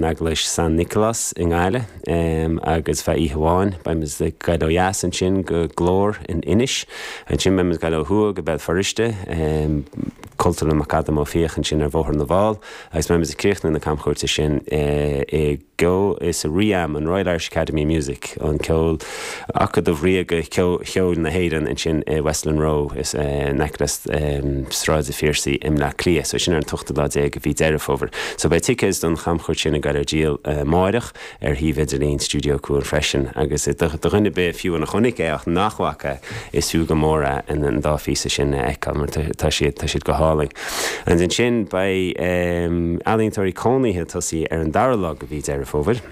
Eaglais San Nicolás i nGaillimh agus feadh oíche amháin beidh muid ag goil ó dheas ansin go Glór in Inis. Ansin beidh muid ag goil ó thuaidh go Béal Feirste, Cultúrlann McAdam Ó Fiaich ansin ar Bhóthar na bhFál agus beidh muid ag críochnú na camchuairte sin i gceol sa RIAM, an Royal Irish Academy of Music, an ceol, Acadamh Ríoga Cheoil na hÉireann ansin i Westland Row in aice le Sráid an Phiarsaigh i mBleá Cliath. So sin ar an t-ochtú lá déag de mhí Deireadh Fómhair. So beidh ticéid don chamchuairt sin ag goil ar díol amáireach ar shuíomh idirlín Stiúideo Cuan freisin. Agus do dhuine ar bith fiú a chonaic é ach nach bhfaca, is fiú go mór é an dá phíosa sin a fheiceáil mar tá siad, tá siad go hálainn. And ansin beidh ealaíontóirí cónaithe ag tosaí ar an dara lá de mhí Deireadh Fómhair.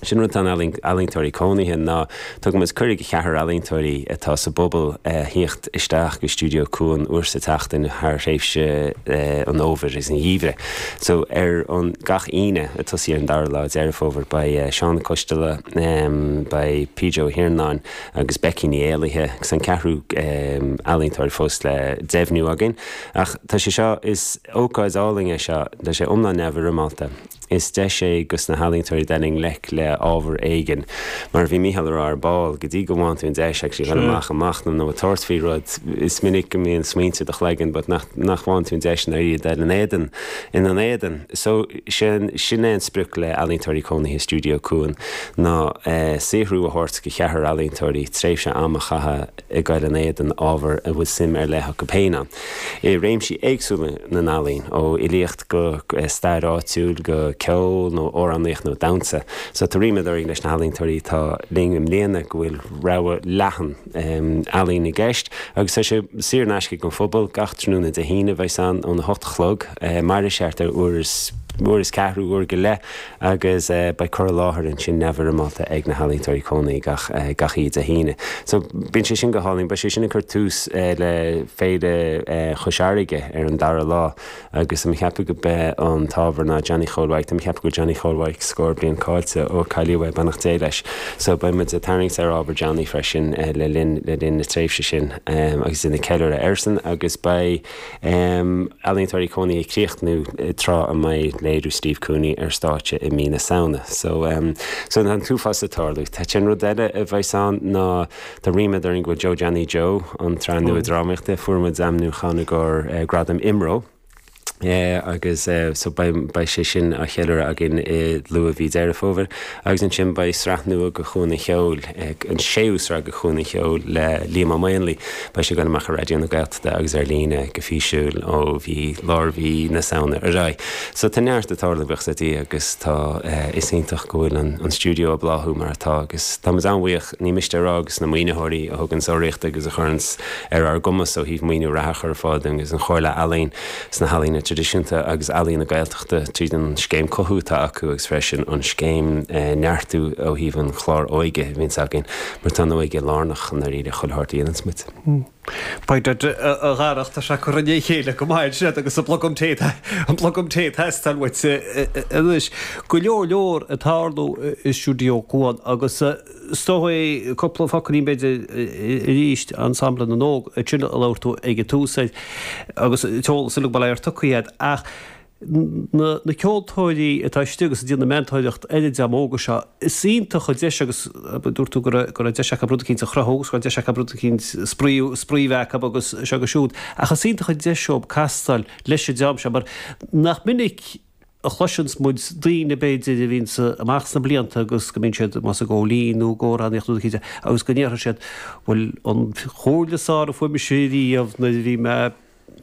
Sin rud atá in ealaíontóirí cónaithe ná tugann muid cuireadh do cheathrar ealaíontóirí atá sa bpobal a thíocht isteach go Stiúideo Cuan uair sa tseachtain thar thréimhse an fhómhair agus an gheimhridh. So ar an gach Aoine ag tosaí ar an dara lá Deireadh Fómhair beidh Seán Ó Coisteala, beidh PJ Ó hIarnáin agus Becky Ní Éallaithe agus an ceathrú ealaíontóir fós le deimhniú againn. Ach tá sé seo, is ócáid álainn é seo, tá sé iomlán neamhfhoirmeálta. Is deis é dos na healaíontóirí dul i ngleic le ábhar éigin. Mar a bhí Mícheál a rá ar ball, go dtí go bhfaigheann tú an deis actually dhul amach ag machnamh nó ag tabhairt faoi rud, is minic go mbíonn smaointe i do chloigeann but nach nach bhfaigheann tú an deis i ndáiríre dul in éadan, ina n-éadan. So sin sin é an sprioc le Ealaíontóirí Cónaithe Stiúideo Cuan ná saothrú a thabhairt do cheathrar ealaíontóirí, tréimhse ama a chaitheamh ag goil in éadan ábhar a bhfuil suim ar leith acu féin ann, i réimsí éagsúla na n-ealaíon, ó fhilíocht go stair áitiúil go ceol nó amhránaíocht nó damhsa. So tá ríméad orainn leis na healaíontóirí atá linn i mbliana go bhfuil rogha leathan ealaíon i gceist agus tá sé saor in aisce don phobal. Gach tráthnóna Dé hAoine bheidh ann óna hocht a chlog, mairfidh sé thart ar uair is uair is ceathrú, uair go leith. Agus beidh cur i láthair ansin neamhfhoirmeálta ag na healaíontóirí cónaithe gach gach oíche Dé hAoine. So bíonn sé sin go hálainn. Beidh sé sin ag cur tús le Féile Chois Fharraige ar an dara lá agus tá mé ag ceapadh go b'é an t-ábhar ná Johnny Chóil Mhaidhc. Tá mé ag ceapadh go bhfuil Johnny Chóil Mhaidhc scór bliain caillte ó cailleadh é, beannacht Dé leis. So beidh muid ag tarraingt ar ábhar Johnny freisin le linn le linn na tréimhse sin agus ag déanamh ceiliúradh airsean agus beidh Ealaíontóirí cónaithe ag críochnú tráth a mbeidh léiriú Steve Cooney ar stáitse i mí na Samhna. So so tá an t-uafás ag tarlú. Tá an rud eile a bheas ann ná tá ríméad orainn go bhfuil Joe Johnny Joe, an tsraith nua drámaíochta, fuair muid ainmniúchán i gcomhair Gradam IMRO. agus so beidh beidh sé sin á cheiliúradh againn i luath mhí Deireadh Fómhair agus ansin beidh sraith nua de Chuan an Cheoil, an séú sraith de Chuan an Cheoil le Liam Ó Maonlaí. Beidh sé ag dul amach ar Raidió na Gaeltachta. agus ar líne go físiúil ó mhí, lár mhí na Samhna ar aghaidh. So tá neart ag tarlú buíochas le Dia agus tá, is iontach go bhfuil an an stiúideo ag bláthú mar atá agus tá muid an-bhuíoch, ní miste a rá, dos na maoinitheoirí a thuganns urraíocht agus a chuireanns ar ár gcumas ó thaobh maoiniú reatha a chur ar fáil dúinn agus an Chomhairle Ealaíon sna healaíona traidisiúnta agus Ealaíon na Gaeltachta tríd an scéim Cothú atá acu agus freisin an scéim Neartú ó thaobh an chlár óige a bhíonns againn mar tá an óige lárnach i ndáiríre chuile shórt a dhéananns muid. Beidh a Dharach, tá sé curtha i ndiaidh a chéile go maith ansin agus an blogam tae, an blogam tae ag teastáil uait anois. Go leor leor ag tarlú i Stiúideo Cuan agus is dóigh cúpla focailín b'fhéidir arís Ensemble na nÓg, sin a labhair tú ag an tús air agus an t-eolas uilig bail ó Dhia ort tugtha agat ach na ceoltóirí atá istigh agus ag déanamh meantóireacht ar an dream óga seo, is iontach an deis agus dúirt tú go raibh go raibh deis acu rud eicínt a chruthú agus go raibh deis acu rud eicínt spraoi spraoi a bheith acu agus seo agus siúd ach is iontach an deis dóibh castáil leis an dream seo mar nach minic a chloiseanns muid daoine b'fhéidir a bhíonns amach sna blianta agus go mbíonn siad más ag ól fíon nó ag amhránaíocht nó rud eicínt agus go ndéarfaidh siad bhuel an chomhairle is fearr a fuair mise riamh nuair a bhí mé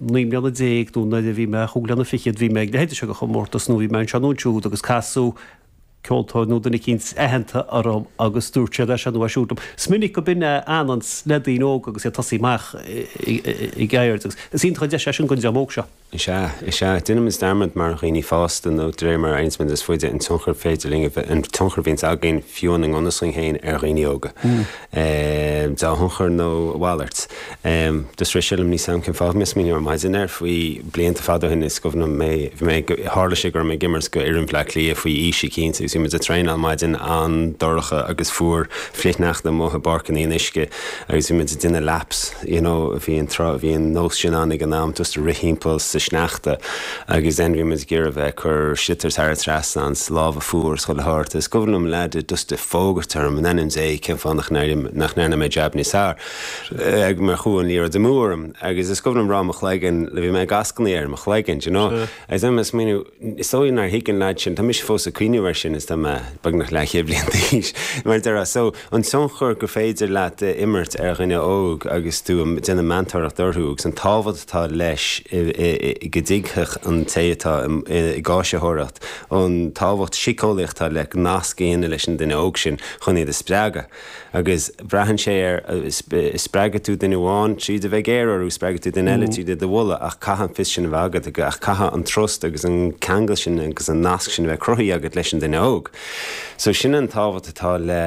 19 mbliana nó nuair a bhí mé chúig bliana fichead bhí mé ag leithéid seo de chomórtas nó bhí mé anseo nó ansiúd agus casadh ceoltóir nó duine eicínt aitheanta orm agus dúirt siad é seo nó é siúd liom. Is minic go b'in é a fhananns le daoine óga agus iad ag tosaí amach ag ceird agus is iontach an deis é sin don dream óg seo. Is ea, is ea. Déanaimid dearmad mar dhaoine fásta nó de réir mar a éiríonns muid níos faide an tionchar féidir linn a bheith, an tionchar a bhíonns againn fiú i ngan fhios dúinn féin ar dhaoine óga. Dea-thionchar nó a mhalairt. Just rith sé liom, níl 's a'm cén fáth, bhí mé ag smaoineamh ar maidin air faoi blianta fada ó shin, is cuimhin liom mé, bhí mé ag, tharla sé go raibh mé ag imirt go fhoireann Bhleá Cliath faoi aois eicínt agus bhí muid ag traenáil maidin an-dorcha agus fuar, flichshneachta amuigh i bPáirc an Fhionnuisce agus bhí muid ag déanamh laps, you know, bhí an tráth, bhí an nós sin ann ag an am, just ag rith thimpeall sa. sneachta agus then bhí muid ag iarraidh bheith ag cur sliotar thar an trasnán 's lámha fuar 's chuile shórt. Is cuimhin liom leaid just ag fógairt orm in ainm Dé cén fáth nach nach ndearna mé jab níos fearr mar chuaigh an liathróid amú orm agus is cuimhin liom rá mo chloigeann bhí mé ag ascnaí ar mo chloigeann do you know agus then mé ag smaoineamh Is dóigh nár thuig an leaid sin, tá mise fós ag cuimhneamh air sin is tá mé beagnach leathchéad bliain d'aois, mar a déarfá. So, an tionchar gur féidir leat a imirt ar dhuine óg agus tú ag déanamh meantóireacht orthu agus an tábhacht atá leis go dtuigfeadh an té atá ag áisitheoireacht an tábhacht síceolaíoch atá le nasc a dhéanamh leis an duine óg sin chun iad a spreagadh. Agus braitheann sé ar, spreagfaidh tú duine amháin tríd a bheith géar orthu, spreagfaidh tú duine eile tríd iad a mholadh, ach caithfidh an fios sin a bheith agat, ach caithfidh an trust agus an ceangal sin agus an nasc sin a bheith cruthaithe agat leis an duine óg. So sin an tábhacht atá le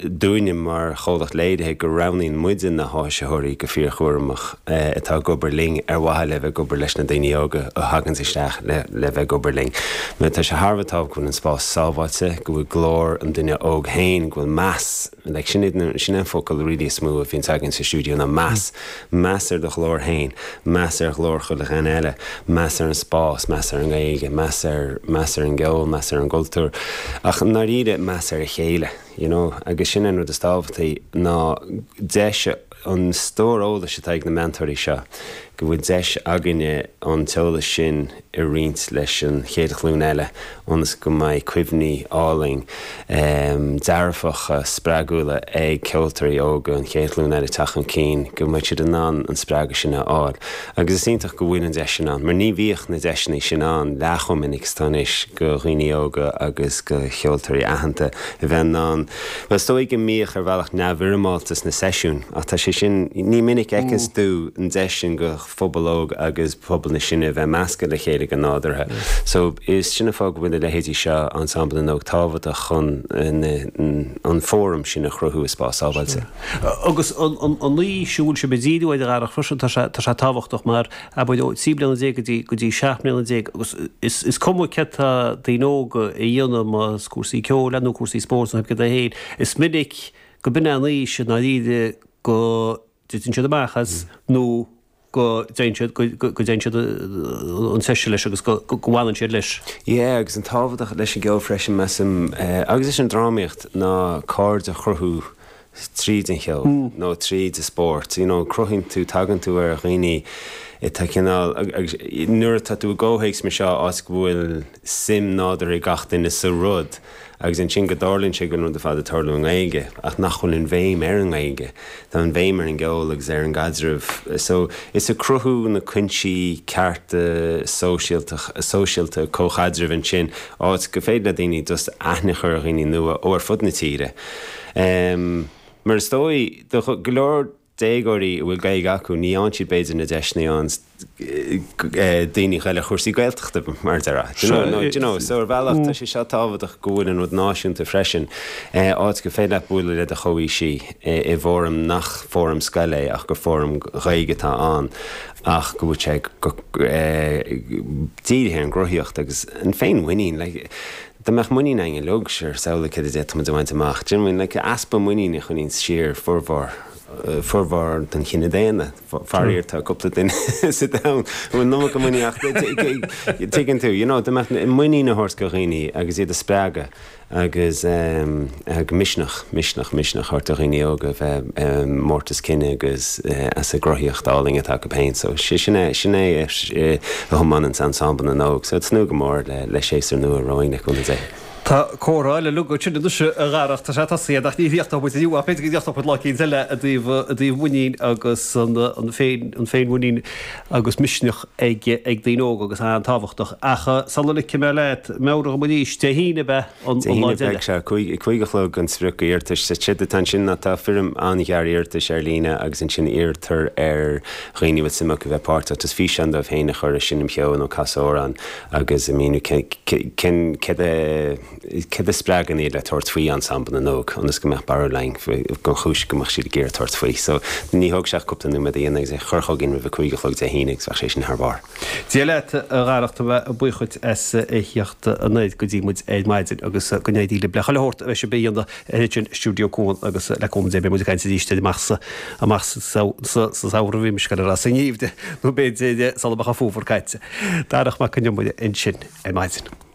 dúinne mar chomhlacht léirithe go roghnaíonn muide na háisitheoirí go fíorchúramach atá ag obair linn ar mhaithe le bheith ag obair leis na daoine óga a thaganns isteach le bheith ag obair linn. Mar tá sé thar a bheith tábhachtach go bhfuil an spás sábháilte, go bhfuil glór an duine óg féin, go bhfuil meas, like sin iad, sin é an focal really is mó a bhíonns againn sa stiúideo ná meas. Meas ar do ghlór féin, meas ar ghlór chuile dhuine eile, meas ar an spás, meas ar an nGaeilge, meas ar, meas ar an gceol, meas ar an gcultúr. Ach i ndáiríre, meas ar a chéile, you know. Agus sin é an rud is tábhachtaí ná deis a, an stór eolais atá ag na meantóirí seo, go bhfuil deis againne an t-eolas sin a roinnt leis an chéad ghlúin eile ionas go mbeidh cuimhní álainn, dearfacha, spreagúla ag ceoltóirí óga an chéad ghlúin eile teacht chun cinn, go mbeidh siad in ann an spreagadh sin a fháil. Agus is iontach go bhfuil an deis sin ann, mar ní bhíodh na deiseanna sin ann leath chomh minic is atá anois do dhaoine óga agus do cheoltóirí aitheanta a bheith in ann, bhuel is dóigh go mbíodh ar bhealach neamhfhoirmeálta sna seisiúin ach tá sé sin, ní minic a fheiceanns tú an deis sin do phobal óg agus pobal na sine a bheith measctha le chéile go nádúrtha. So is sin an fáth go bhfuil a leithéidí seo, Ensemble na nÓg, tábhachtach chun an fóram sin a chruthú i spás sábháilte. Agus an aois a bhfuil sibh ag díriú air a Dharach freisin, tá sé tá sé tábhachtach mar abair ó 13 bliana go dtí go dtí 17 mbliana agus is is cuma céard tá daoine óga a dhéanamh más cúrsaí ceoil é nó cúrsaí spóirt nó céard é féin, is minic go b'in é an aois i ndáiríre go dtiteann siad amach as nó go dtéann siad, go dtéann siad an treise leis agus go bhfanann siad leis. Yeah, agus an tábhachtach leis an gceol freisin, measaim, agus leis an drámaíocht, ná cairde a chruthú tríd an cheol nó tríd an spórt. You know, cruthaíonn tú, tagann tú ar dhaoine atá cineál, agus nuair atá tú i gcomhthéacs mar seo, áit go bhfuil suim nádúrtha ag gach duine sa rud, Agus ansin go dtarlaíonn sé go bhfuil an rud ar fad ag tarlú i nGaeilge, ach nach bhfuil an bhéim ar an nGaeilge. Tá an bhéim ar an gceol agus ar an gcaidreamh. So, is ag cruthú na cuinsí cearta sóisialta, sóisialta, comhchaidrimh ansin, áit go féidir le daoine just aithne a chur ar dhaoine nua ó ar fud na tíre. Mar is dóigh, do go leor déagóirí a bhfuil Gaeilge acu, ní fhaigheann siad b'fhéidir na deiseanna a fhaigheann daoine a ghoil ar chúrsaí Gaeltachta, mar a déarfá. Do you know, do you know, so ar bhealach tá sé seo tábhachtach go bhfuil an rud náisiúnta freisin, áit gur féidir leat bualadh le do chomhaoisigh i bhfóram nach fóram scoile é ach gur fóram Gaeilge atá ann ach go bhfuil sé dírithe ar an gcruthaíocht agus an féinmhuinín, like, Dá mbeadh muinín againn uilig, sure, samhlaigh céard a d'fhéadfadh muid a bhaint amach. Do you know what I mean? Like, easpa muiníne a choinníonns siar formhór, formhór den chine daonna. Faraor, tá cúpla duine sa domhan a bhfuil an iomarca muiníne ach tuigeann tú, you know, dá mbeadh muinín a thabhairt do dhaoine agus iad a spreagadh agus misneach, misneach, misneach a thabhairt do dhaoine óga a bheith mórtas cine agus as a gcruthaíocht álainn atá acu féin. So sin é, sin é a thiomáineanns Ensemble na nÓg. So tnúth go mór le séasúr nua romhainn le cúnamh Dé. Tá comhrá eile uilig ansin anois a Dharach, tá sé tosaithe ach ní chríochnóidh muid inniu ach b'fhéidir go gcríochnóidh muid lá eicínt eile i dtaobh, i dtaobh muinín agus an, an féin, an féinmhuinín agus misneach ag, ag daoine óga agus an-tábhachtach. Ach sula ligfidh mé leat, meabhraigh dom arís, Dé hAoine ab ea? an Dé lá hAoine beidh deiridh. sé, 5 a chlog an sprioc iarratais. Séard atá ansin ná tá foirm an-ghearr iarratais ar líne agus ansin iarrtar ar dhaoine a bhfuil suim acu bheith páirteach just físeán dóibh féin a chur ag seinm cheoil nó casadh amhrán agus a míniú cén céard a. céard a spreagann iad le tabhairt faoi Ensemble na nÓg, ionas go mbeadh barúil againn den chúis go mbeadh siad ag iarraidh tabhairt faoi. So, ní thógfaidh sé ach cúpla nóiméad a dhéanamh agus é a chur chugainn roimh a 5 a chlog Dé hAoine agus bheadh sé sin thar barr. Dia leat, a Dharach, tá mé buíoch dhuit as a theacht anoir go dtí muid ar maidin agus go n-éirí libh le chuile shórt a bheidh sibh a dhéanamh ansin i Stiúideo Cuan agus le cúnamh Dé beidh muid ag caint arís amach sa amach sa samhradh bhí mise ag goil a rá sa ngeimhreadh nó b'fhéidir sula mbeadh an fómhar caite. Darach Mac Con Iomaire ansin ar maidin.